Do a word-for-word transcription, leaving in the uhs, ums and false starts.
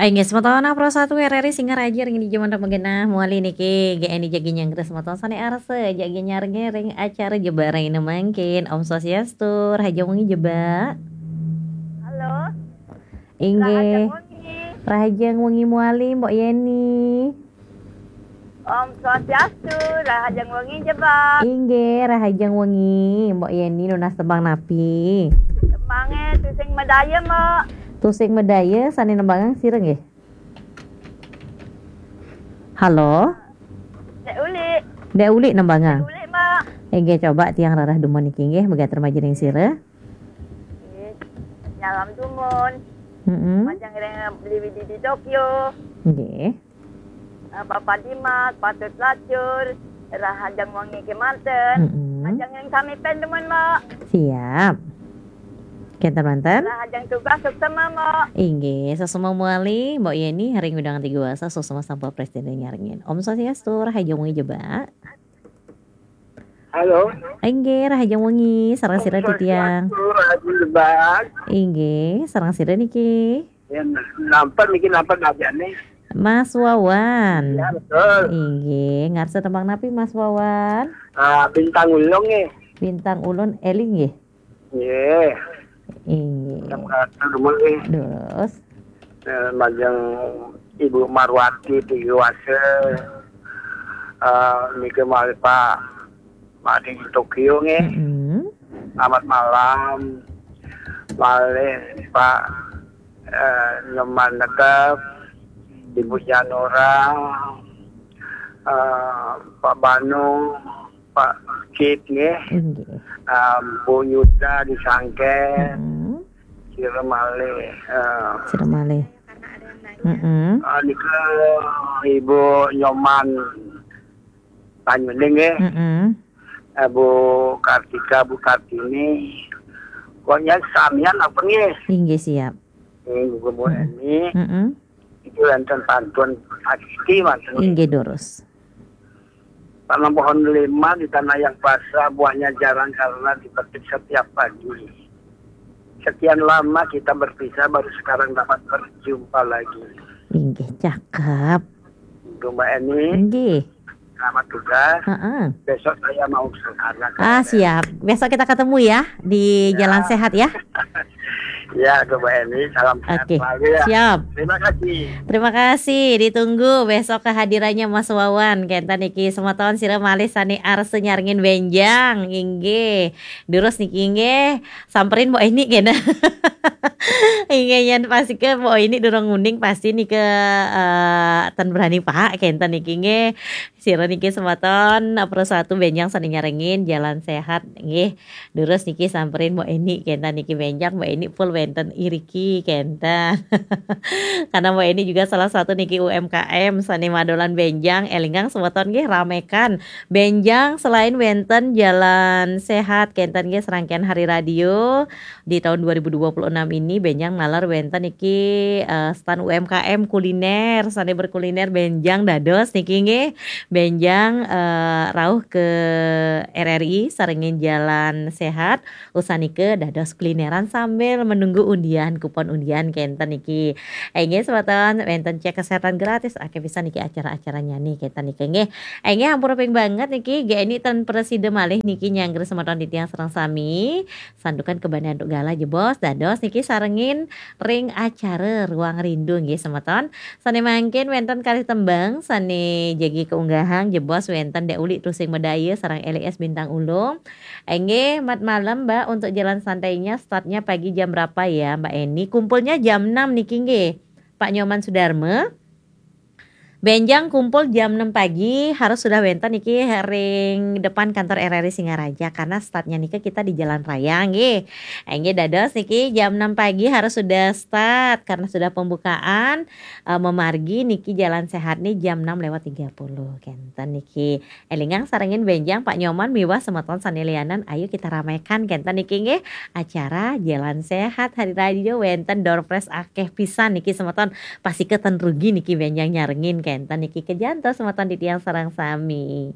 Inggih, semeton Pro satu R R I Singaraja ring dija manten magenah mawali niki, G N I jagi nyanggra semeton sane arsa, jagi nyarengin ring acara Jebak Raina mangkin. Om Swastiastu, rahajeng wengi Jebak. Halo. Inggih. Rahajeng wengi. Rahajeng wengi mawali, Mbok Yeni. Om Swastiastu, rahajeng wengi Jebak. Inggih, rahajeng wengi, Mbok Yeni nunas tembang napi? Tembange Tusing Medaya, Mbok. Tusing Medaya sane nembangang sira nggih? Halo? Dek Uli. Dek Uli nembangang? Dek Uli, Mbok. Inggih, coba tiang rarah dumun niki nggih, megatur majeng ring sira. Nggih. Nyalam dumun. Mm-mm. Majeng ring Beli Widi di Tokyo. Nggih. Eh, Bapak Dimas, Patut Lacur, rahajeng wengi kemanten. Mm-mm. Majeng ring sami pen dumun, Mbok. Siap. Kenten manten? Rahajeng tugas suksema, Mbok. Inggih, suksema mawali, Mbok Yeni, ring wewidangan Tiga Wasa, suksema sampun prasida nyarengin. Om Swastiastu, rahajeng wengi Jebak. Halo. Inggih, rahajeng wengi, sareng sira titiang. Swastiastu, rahajeng Jebak. Inggih, sareng sira niki? Ya, nampen niki, nampen ajane. Mas Wawan. Ya, betul. Inggih, ngarsa tembang napi Mas Wawan? Ah, Bintang Ulung nggih. Bintang Ulun eling nggih. Nggih. Inggih. Jam satu dulu nggih. Terus? Eh, majeng Ibu Marwati Tiga Wasa. Eh, niki malih Pak Mading Tokyo nggih. Mm-mm. Selamat malam. Malih Pak, eh, Nyoman Negep, Ibu Janora, eh, Pak Banu, Pak Kit nggih. Inggih. Eh, Bu Yuda di Sangken. Mm-mm. Sira malih, eh, Sira malih. Mm-mm. Eh, nika Ibu Nyoman Banyuning nggih. Mm-mm. Eh, Bu Kartika, Bu Kartini. Pokoknya samian apa nggih? Inggih, siap. Nggih, Bu, Bu Mm-mm. Eni. Mm-mm. Itu wonten pantun pasti manten. Inggih, durus. Tanam pohon delima di tanah yang basah, buahnya jarang karena dipetik setiap pagi. Sekian lama kita berpisah, baru sekarang dapat berjumpa lagi. Inggih, cakep. Untuk Mbok Eni, inggih, selamat tugas. Heeh. Besok saya mau ke sana. Ah, siap. Besok kita ketemu ya di, ya, Jalan Sehat ya. Ya, Mbok Eni, salam sehat, oke, selalu ya. Siap. Terima kasih. Terima kasih, ditunggu besok kehadirannya Mas Wawan. Kenten niki semeton sira malih sane arsa nyarengin benjang, inggih. Durus niki nggih, samperin Mbok Eni kene. Inggih, yen pastika Mbok Eni durung nguning pasti niki, eh, ten berani Pak, kenten niki nggih. Sira niki semeton, Pro satu benjang sane nyarengin Jalan Sehat nggih. Durus niki samperin Mbok Eni kenten niki benjang, Mbok Eni full wenten iriki kenten. Karena Mbok Eni juga salah satu niki U M K M sane madolan benjang, elingang semeton nggih ramekan benjang selain wenten Jalan Sehat kenten nggih serangkaian hari radio di tahun dua ribu dua puluh enam ini benjang naler wenten niki, eh, stand U M K M kuliner, sane berkuliner benjang dados niki nggih. Benjang, eh, rauh ke R R I sarengin Jalan Sehat, usanika dados kulineran sambil menunggu undian, kupon undian kenten niki. Inggih semeton, wenten cek kesehatan gratis, akeh pisan niki acara-acaranya nih kenten niki nggih. Inggih ampura ping banget niki, G N I ten prasida malih niki nyanggra semeton titiang sareng sami. Santukan kabahdian antuk galah jebos dados niki sarengin ring acara Ruang Rindu nggih semeton. Sane mangkin wenten kalih tembang sane jagi kaunggahang jebos wenten Dek Uli Tusing Medaya sareng L I S Bintang Ulung. Inggih, mat malam, Mbak, untuk jalan santainya startnya pagi jam berapa ya, Mbak Eni? Kumpulnya jam enam niki nggih. Pak Nyoman Sudarma. Benjang kumpul jam enam pagi, harus sudah wenten niki ring depan kantor R R I Singaraja, karena startnya niki kita di jalan raya nggih. Inggih dados niki jam enam pagi harus sudah start karena sudah pembukaan, eh, memargi niki Jalan Sehat nih jam enam lewat tiga puluh kenten niki. Elingang sarengin benjang Pak Nyoman miwah semeton sane lianan, ayo kita ramaikan kenten niki nggih. Acara Jalan Sehat Hari Radio wenten door prize akeh pisan niki semeton. Pastika ten rugi niki benjang nyarengin kenten niki, kejantos semeton titiang sareng sami.